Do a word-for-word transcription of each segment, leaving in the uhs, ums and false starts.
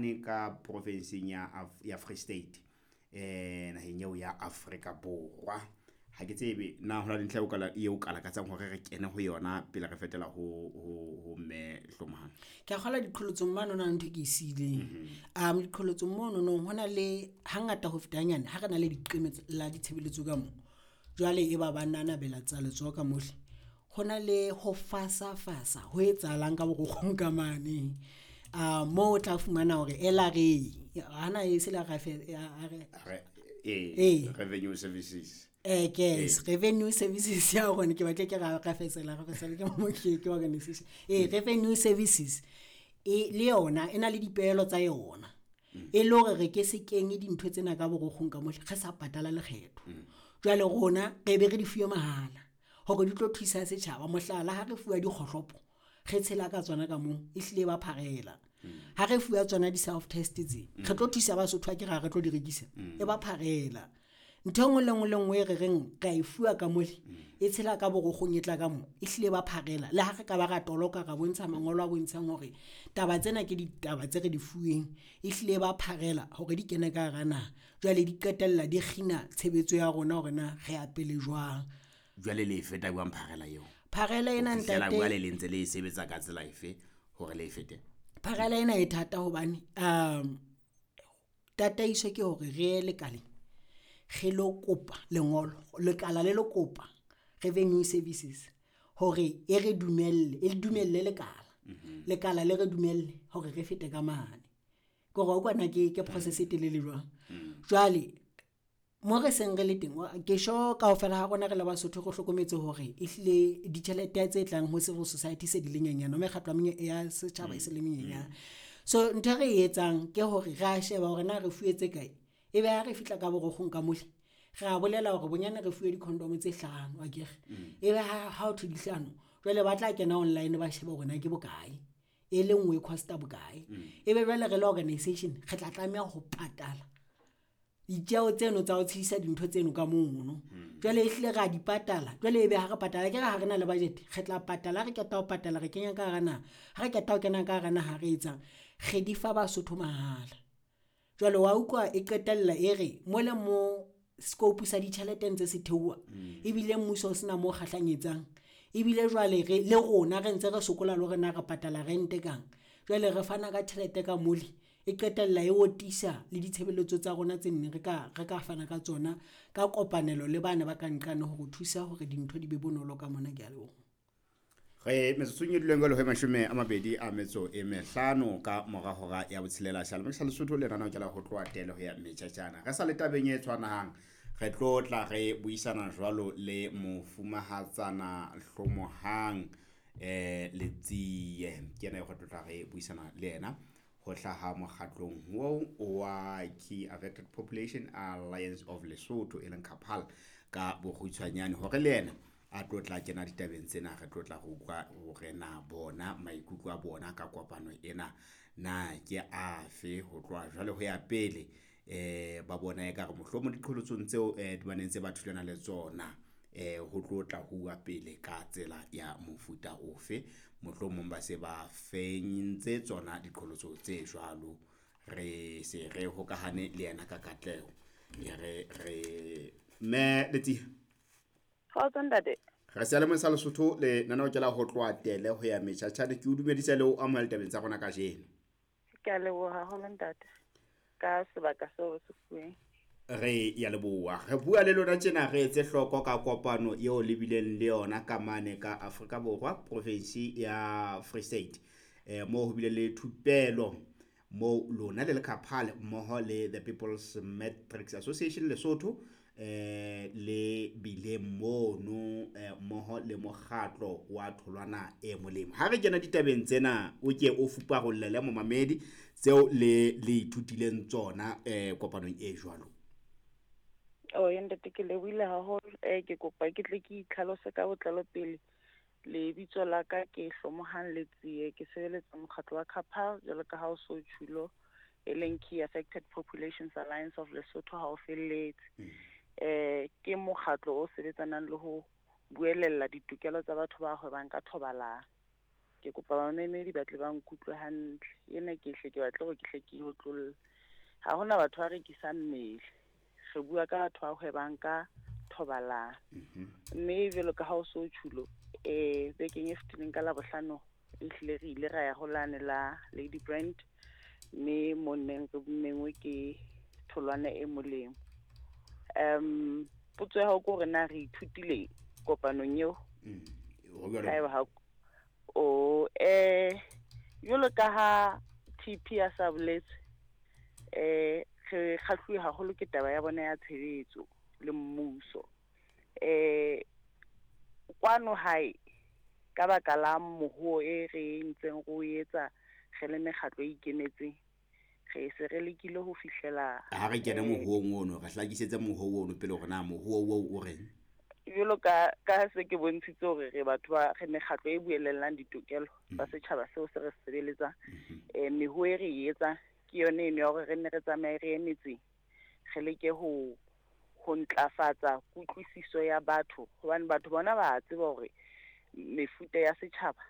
mane ka profinseng ya ya Free State, eh naheng eo ya Afrika Borwa. Ha ke tsebe na hona le ntlha eo ka eo ka lakatsang hore re kene ho yona pele re fetela ho ho ho mme Hlomohang. Ke a kgolwa diqholotsong mane hona le ntho e ke e siileng. Um diqholotsong mono nong hona le hangata ho feta hanyane ha re na le diqeme la ditshebeletso ka mo, jwale e ba ba nanabela tsa letsoho ka mole. Ho na le ho fasa-fasa ho etsahalang ka borokgong ka mane. Uh moo o tla fumana hore L R A hana e se le eh Revenue Services. Eh yes, Revenue Services ya rona, ke batle ke ra rafetsela rafetsela ke mo ke ke organization. Eh Revenue Services e le yona e na le dipehelo tsa yona. E le hore re ke se kenye dintho tsena ka borokgong ka mole re sa patala lekgetho. Jwale rona re be re di fuwe mahala hore di tlo thusa setjhaba. Mohlala, ha re fuwa dikgohlopo re tshela ka tsona ka moo, ehlile ba pharela. Ha re fuwa tsona di-self test tse re tlo thusa Basotho, ha ke ra re tlo di rekisa, e ba pharela. Ntho e nngwe le nngwe le nngwe e re reng re a e fuwa ka mole e tshela ka borokgong e tla ka mo, ehlile ba pharela. Le ha re ka ba ra toloka ra bontsha mangolo a bontshang hore taba tsena ke ditaba tse re di fuweng, ehlile ba pharela hore di kene ka hara naha. Jwale di qetella di kgina tshebetso ya rona hore na re ya pele jwang. Jwale le e feta jwang pharela eo? Pharela ena ntate, jwale le ntse le e sebetsa ka tsela efe hore le e fete? Pharela ena e thata hobane um tataiso ke hore re ye lekaleng re lo kopa lengolo, lekala le lo kopa Revenue Services hore e re dumelle, e dumelle lekala. Lekala le re dumelle hore re fete ka mane. Ke hore kwana ke ke process e telele jwang. Jwale mo re seng re le teng, ke sure kaofela ha rona re le Basotho re hlokometse hore ehlile ditjhelete tse tlang ho civil society se di le nyenyane, mekgatlo ya setjhaba e se le menyenyane. So ntho e re e etsang ke hore re a sheba hore na re fuwe tse kae, ebe ha re fihla ka borokgong ka mole re a bolela hore bonyane re fuwe di-condom tse hlano akere. Ebe ha ho thwe di hlano, jwale ba tla kena online ba shebe hore na ke bokae, e le nngwe e cost-a bokae. Ebe jwale re le organisation re tla tlameha ho patala ditjeho tseno tsa ho tshedisa dintho tseno ka mono. Jwale ehlile re a di patala, jwale ebe ha re patala akere ha re na le budget, re tla patala. Ha re qeta ho patala re kenya ka hara naha, ha re qeta ho kena ka hara naha re etsang, re di fa Basotho mahala. Jwale wa utlwa e qetella e re mole mo scope sa ditjhelete ntse se theoha, ebile mmuso o sena mo kgahlanyetsang, ebile jwale re le rona re ntse re sokola le hore na re patala rent-e kang. Jwale re fana ka tjhelete ka mole e qetella e otisa le ditshebeletso tsa rona tse nne re ka re ka fana ka tsona ka kopanelo le bana ba ka nqane hore thusa hore dintho di be bonolo ka mona. Ke a leboha. Re metsotsong e duleng jwale ho mashome a mabedi a metso e mehlano ka mora hora ya botshelela seyalemoya sa Lesotho lenaneo ke la ho tloha tele ho ya metjhatjana. Re sa le tabeng e tshwanang, re tlo tla re buisana jwalo le mofumahatsana Hlomohang eh Letsie, ke yena eo re tlo tla re buisana le yena ho hlaha mokgatlong oo wa Key Affected Population Alliance of Lesotho, e leng KAPAL ka bokgutshwanyane, hore le yena a tlo tla kena ditabeng tsena. Re tlo tla re utlwa hore na bona maikutlo a bona ka kopano ena na ke afe ho tloha jwale ho ya pele. Eh ba bona ekare mohlomong diqholotsong tseo eh di baneng tse ba thulana le tsona, eh ho tlo tla huwa pele ka tsela ya mofuta ofe, mohlomong ba se ba fentse tsona diqholotso tse jwalo. Re se re hokahane le yena ka katleho, e re re mme Letsie. Kgotso ntate. Re seyalemoya sa Lesotho lenaneo ke la ho tloha tele ho ya metjhatjhane. Ke o dumedisa le o amohela tabeng tsa rona kajeno. Ke a leboha haholo ntate ka sebaka seo se fuweng. Re ya leboha. Re bua le lona tjena re etse hloko ka kopano eo le bileng le yona ka mane ka Afrika Borwa, province ya Free State, eh moo ho bile le thupelo moo lona le le KAPAL mmoho le the People's Matrix Association Lesotho eh le bile mono mmoho le mokgatlo wa Tholwana e Molemo. Ha re kena ditabeng tsena, o ke o fuparollele momamedi tseo le le ithutileng tsona eh kopanong e jwalo. Oh ntate, ke lebohile haholo. Eh ke kopa ke tle ke itlhalose ka botlalo pele. Lebitso la ka ke Hlomohang Letsie, ke sebeletsa mokgatlo wa KAPAL jwalo ka ha o so tjhulo, e leng Key Affected Populations Alliance of Lesotho ha o felletse. Eh ke mokgatlo o sebetsanang le ho buelella ditokelo tsa batho ba hwebang ka thobalano. Ke kopa bamamedi ba tle ba nkutlwe hantle. Ena ke hle ke batla hore ke hle ke e otlolle. Ha hona batho ba rekisang mmele. Re bua ka batho ba hwebang ka thobalano. Mme jwalo ka ha o so tjhulo, eh bekeng e fetileng ka Labohlano ehlile re ile ra ya ho lane la Lady Brand, mme mo neng re mengwe ke tholwana e molemo. Um potso ya hao ke hore na re ithutileng kopanong eo? Mm. Ho jwalo. Haeba ha o eh jwalo ka ha T P a sa boletse, eh re kgahluwe haholo ke taba ya bona ya tshebetso le mmuso. Eh kwano hae ka baka la mohuo e re ntseng re o etsa re le mekgatlo e ikemetseng, re se re lekile ho fihlela Ha re kene eh, mohuong ono, re hlakisetse mohuo ono pele hore na mohuo oo o reng. Jwalo ka, ka se ke bontshitse hore re batho ba, re mekgatlo e buelellang ditokelo tsa setjhaba seo se re sebeletsang. Eh, mehuo e re e etsang ke yone eno ya hore re nne re tsamaye re ye metseng, re leke ho, ho ntlafatsa kutlwisiso ya batho, hobane batho bona ba tseba hore mefuta ya setjhaba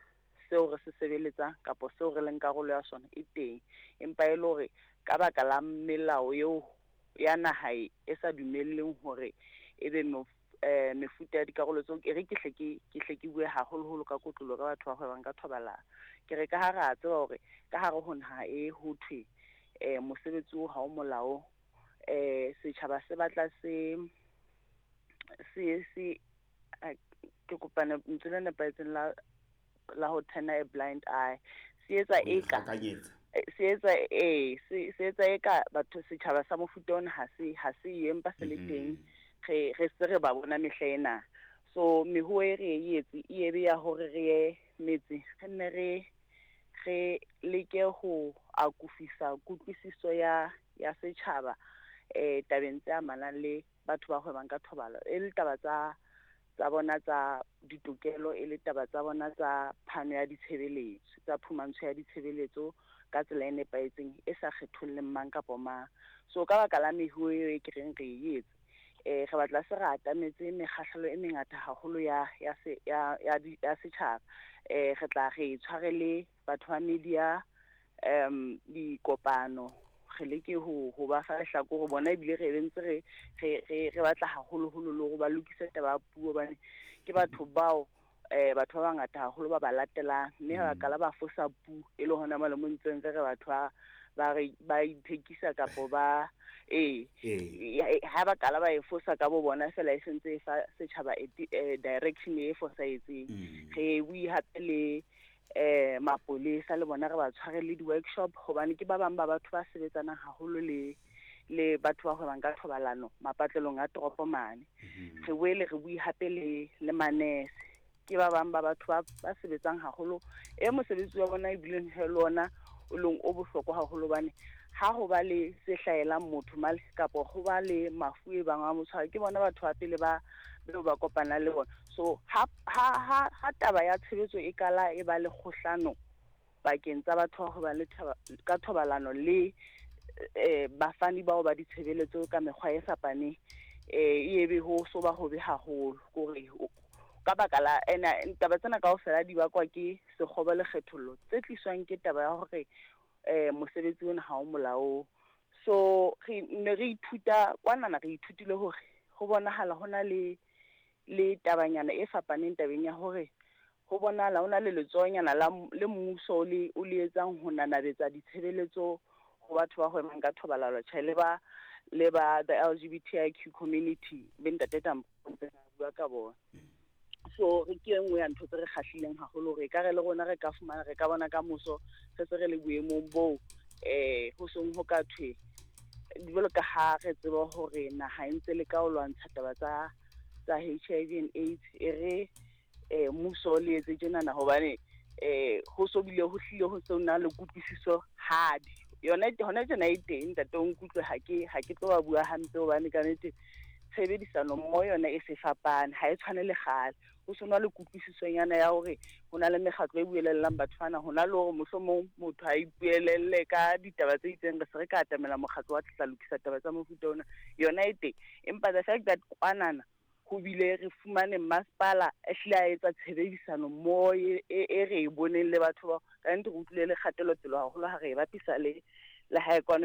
seo re se sebeletsang kapa seo re leng karolo ya sona e teng, empa e le hore ka baka la melao eo ya naha e, e sa dumelleng hore ebe mof-, eh, mefuta ya dikarolo tseo, ke re ke hle ke, ke hle ke bue haholoholo ka kotlolo ka batho ba hwebang ka thobalano. Ke re ka ha re a tseba hore ka hare ho naha e ho thwe, eh, mosebetsi oo ha o molaong, eh, setjhaba se batla se, se, se, a, ke kopane lentswe le nepahetseng la, la ho turn a blind eye. Se etsa Ho eka, ikgakanyetsa. eh, se etsa, eh, se, se etsa eka batho setjhaba sa mofuta ona ha se, ha se ye, empa se le Mhm. teng. Re, re se re ba bona mehla ena. So mehuo e re e etse, e ebe ya hore re ye metse, re nne re, re leke ho akofisa kutlwisiso ya, ya setjhaba, eh, tabeng tse amanang le batho ba hwebang ka thobalano, e le taba tsa, tsa bona tsa ditokelo, e le taba tsa bona tsa phano ya ditshebeletso, tsa phumantsho ya ditshebeletso ka tsela e nepahetseng, e sa kgetholleng mang kapa mang. So ka baka la mehuo eo e ke reng re e etse, eh, re batla se re atametse mekgahlelo e mengata haholo ya, ya se, ya, ya di, ya setjhaba. Eh, re tla re tshware le batho ba media, em, dikopano, re leke ho, ho ba fa lehlakore bona, ebile re be ntse re, re, re, re batla haholoholo le hore ba lokise taba ya puo, hobane ke batho bao, eh, batho ba bangata haholo ba ba latelang, mme ha ba Mm. qala ba fosa puo, e le hona mane mo ntseng re re batho ba, ba re, ba ithekisa kapo ba, ee, Ee. ya, e, ha ba qala ba e fosa ka bo bona fela, e sentse e fa setjhaba e ti-, eh, direction e fosahetseng. Mm. Re bue hape le, eh, mapolesa le bona re ba tshware le di-workshop, hobane ke ba bang ba batho ba sebetsanang haholo le, le batho ba hwebang ka thobalano mapatlelong a toropo mane. Mm-hmm. Re boele re bue hape le, le manese, ke ba bang ba batho ba, ba sebetsang haholo, e mosebetsi wa bona ebileng he le ona o leng o bohlokwa haholo, hobane ha ho ba le se hlahelang motho male kapa ho ba le mafu e bang a mo tshwara, ke bona batho ba pele ba, beo ba kopana le bona. So ha, ha, ha, ha taba ya tshebetso e kala e ba le kgohlano pakeng tsa batho ba hwebang le thaba, ka thobalano le, eh, bafani bao ba ditshebeletso ka mekgwa e fapaneng, eh, e ebe ho so ba hobe haholo, kore o, ka baka la ena taba tsena kaofela di bakwa ke sekgobo le kgethollo tse tliswang ke taba ya hore, eh, mosebetsi ona ha o molaong. So re ne re ithuta kwanana, re ithutile hore ho bonahala ho na le, le tabanyana e fapaneng tabeng ya hore ho bonahala ho na le letsohonyana la m-, le mmuso o le, o le etsang ho nanabetsa ditshebeletso ho batho ba hwebang ka thobalano, tjhe, le ba, le ba the L G B T I Q community, be ntate Tambo ntse a bua ka bona. So re ke e nngwe ya ntho tse re kgahlileng haholo, hore ekare le rona re ka fumana, re ka bona ka moso re se re le boemong boo, eh, ho seng ho ka thwe, jwalo ka ha re tseba hore naha e ntse le ka ho lwantsha taba tsa, tsa H I V and AIDS, e re, eh, mmuso le etse tjenana, hobane, eh, ho so bile ho hlile ho se ho na le kutlwisiso hadi. Yona e-, hona tjena e teng, ntate, o nkutlwe, ha ke, ha ke tlo ba bua hampe, hobane ka nnete tshebedisano mmoho yona e se fapane, ha e tshwane le kgale. Ho se na le kutlwisisonyana ya hore ho na le mekgatlo e buelellang batho bana, ho na le hore mohlomong motho a ipuelelle ka ditaba tse itseng, re se re ka atamela mokgatlo wa tla lokisa taba tsa mofuta ona, yona e teng. Empa the fact that kwanana Ho bile re fumane masepala a hlile a etsa tshebedisano mmoho e e re e boneng le batho bao. Ka nnete re utlwile le kgatelopele haholo ha re e bapisa le le hae kwano.